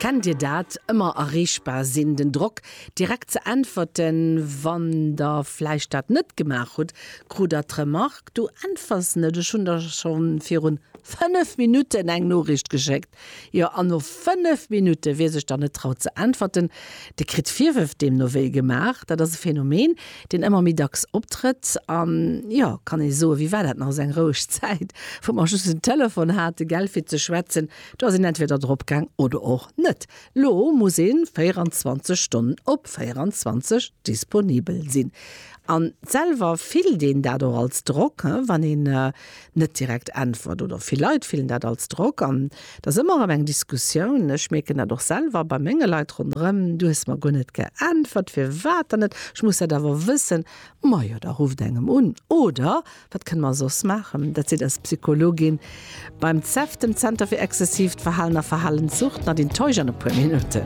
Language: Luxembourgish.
Kennt Dir dat? Ëmmer erreechbar sinn, den Drock direkt ze äntwerten. Wann der vläicht dat net gemaach hutt, krut der d'Remark, Du äntwers net, ech hunn der scho virun 5 Minutten eng Noriicht geschéckt. Jo, an no 5 Minutte, wie sech dann net traut ze äntwerten, dee kritt Virwërf deemno wéi gemaach. Dat ass e Phänomen, deen ëmmer méi dacks optrëtt. An jo, kann ee soen, wéi war dat nach, esou eng roueg Zäit, wou mer just en Telefon hate, gell, fir ze schwätzen. Do ass een entweder drop gaang oder och net. Lo muss ee 24 Stonnen op 24 disponibel sinn. An selwer fillt een dat och als Drock, wann een net direkt äntwert. Oder vill Leit fillen dat als Drock. An et ass ëmmer erëm eng Diskussioun. Ech mierken dat och selwer bei menge Leit ronderëm, Du hues mer guer net geäntwert, firwat dann net? Ech muss dat awer wëssen. Majo, da rufft engem un. Oder Wat kënne mer soss maachen? Dat seet eis Psychologin beim CEF, dem Zenter fir exzessiivt Verhalen a Verhalenssucht, Nadine Teusch an e puer Minutten.